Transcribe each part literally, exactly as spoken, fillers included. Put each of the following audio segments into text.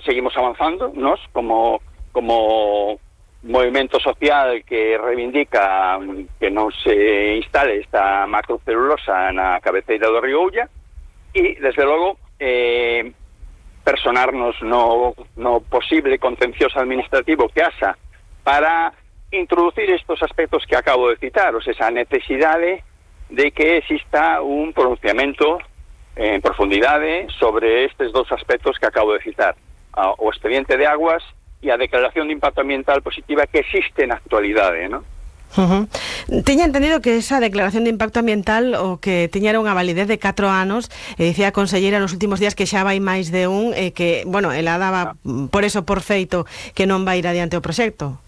seguimos avanzando, nos, como, como movimento social que reivindica que non se instale esta macrocelulosa na cabeceira do río Ulla, e, desde logo, eh, personarnos no, no posible contencioso administrativo que haxa para introducir estos aspectos que acabo de citar, o sea, esa necesidade de que exista un pronunciamento en profundidade sobre estes dos aspectos que acabo de citar, o expediente de aguas e a declaración de impacto ambiental positiva que existe na actualidade, non? Uh-huh. Teña entendido que esa declaración de impacto ambiental o que teñera unha validez de catro anos, e dicía a conselleira nos últimos días que xa vai máis de un, e que, bueno, ela daba no. por eso por feito que non vai ir adiante o proxecto.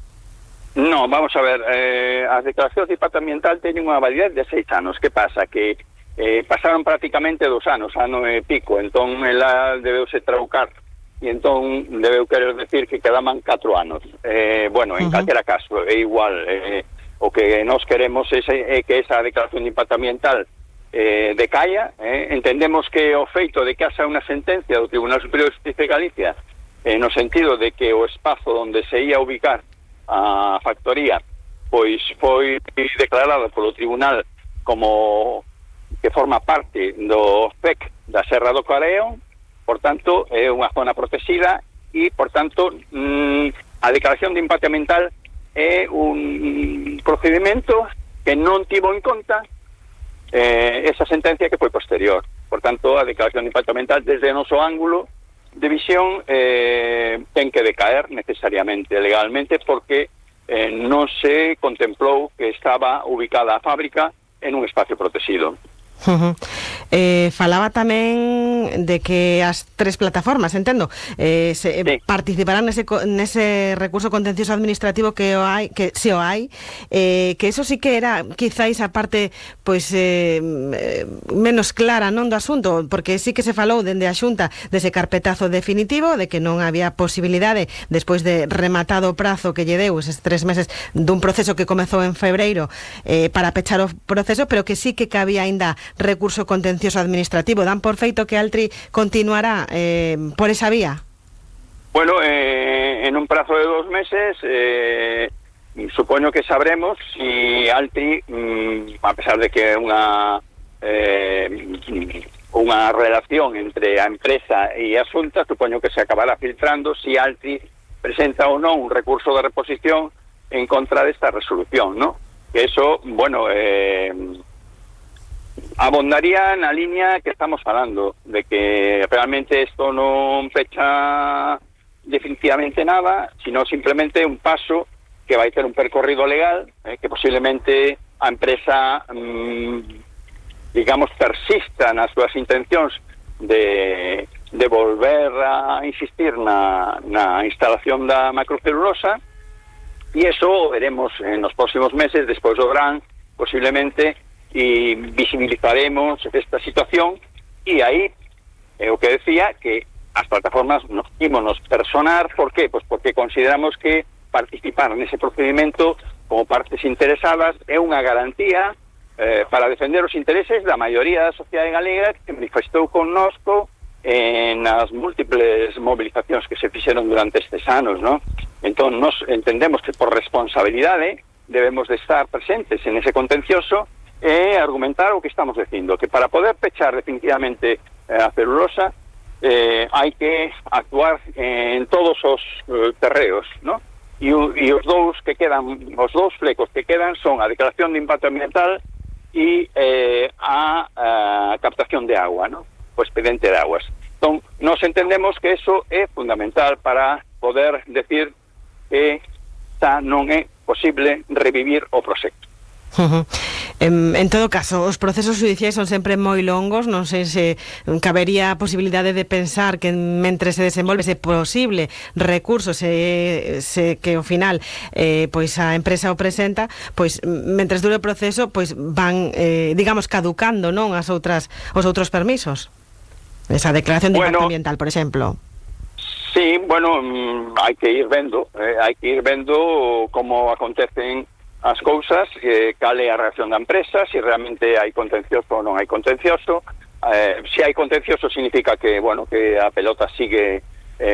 No, vamos a ver, eh, as declaracións de impacto ambiental teñen unha validez de seis anos. Que pasa? Que eh, pasaron prácticamente dos anos, ano e pico, entón ela debeuse traucar, e entón debeu querer decir que quedaban catro anos. Eh, bueno, en uh-huh. calquera caso, é igual, eh, o que nós queremos é, é que esa declaración de impacto ambiental eh, decaia. Eh, entendemos que o feito de que haxa unha sentencia do Tribunal Superior de Justicia de Galicia eh, no sentido de que o espazo onde se ia ubicar a factoría pois foi declarado polo Tribunal como que forma parte do C E C da Serra do Careo, por tanto é unha zona protegida e, por tanto, mmm, a declaración de impacto ambiental é un procedimento que non tivo en conta eh, esa sentencia que foi posterior. Por tanto, a declaración de impacto ambiental desde o noso ángulo de visión eh, ten que decaer necesariamente legalmente, porque eh, non se contemplou que estaba ubicada a fábrica en un espacio protegido. Uh-huh. eh, falaba tamén de que as tres plataformas, entendo, eh, se, sí. participarán nese, nese recurso contencioso administrativo que o hai, que se o hai, eh, que eso sí que era quizáis a parte pois eh, menos clara, non, do asunto, porque sí que se falou dende a Xunta dese carpetazo definitivo, de que non había posibilidade despois de rematado o prazo que lle deu eses tres meses dun proceso que comezou en febreiro eh, para pechar o proceso, pero que sí que cabía aínda recurso contencioso administrativo. Dan por feito que Altri continuará eh, por esa vía? Bueno, eh, en un plazo de dos meses eh, supoño que sabremos si Altri, mm, a pesar de que é unha eh, unha relación entre a empresa e a Xunta, supoño que se acabará filtrando si Altri presenta ou non un recurso de reposición en contra desta resolución, ¿no? Que eso, bueno, eh, abondaría na liña que estamos falando, de que realmente isto non fecha definitivamente nada, sino simplemente un paso que vai ter un percorrido legal, eh, que posiblemente a empresa, mmm, digamos, persista nas súas intencións de, de volver a insistir na, na instalación da macrocelulosa, e eso veremos en os próximos meses, despois do verán, posiblemente, e visibilizaremos esta situación, e aí é o que decía, que as plataformas nos ímonos personar. ¿Por qué? Pues porque consideramos que participar nese procedimento como partes interesadas é unha garantía eh, para defender os intereses da maioría da sociedade galega, que manifestou connosco en as múltiples movilizacións que se fixeron durante estes anos, ¿no? Entón, nos entendemos que por responsabilidade debemos de estar presentes en ese contencioso e argumentar o que estamos dicindo, que para poder pechar definitivamente eh, a celulosa eh, hai que actuar en todos os eh, terreos, ¿no? E, e os dous que quedan, os dous flecos que quedan son a declaración de impacto ambiental e eh, a, a captación de agua, ¿no? O expediente de aguas. Entón, nos entendemos que eso é fundamental para poder decir que xa non é posible revivir o proxecto. Uh-huh. En, en todo caso, os procesos judiciais son sempre moi longos. Non sei se cabería a posibilidade de pensar que mentre se desenvolve ese posible recurso, se, se que ao final eh, pois a empresa o presenta, pois mentre dure o proceso, pois van eh, digamos caducando, non, as outras os outros permisos. Esa declaración de bueno, impacto ambiental, por exemplo. Sí, bueno, hai que ir vendo, eh, hai que ir vendo como acontecen as cousas, que cale a reacción da empresa, se si realmente hai contencioso ou non hai contencioso. Eh, se hai contencioso significa que, bueno, que a pelota sigue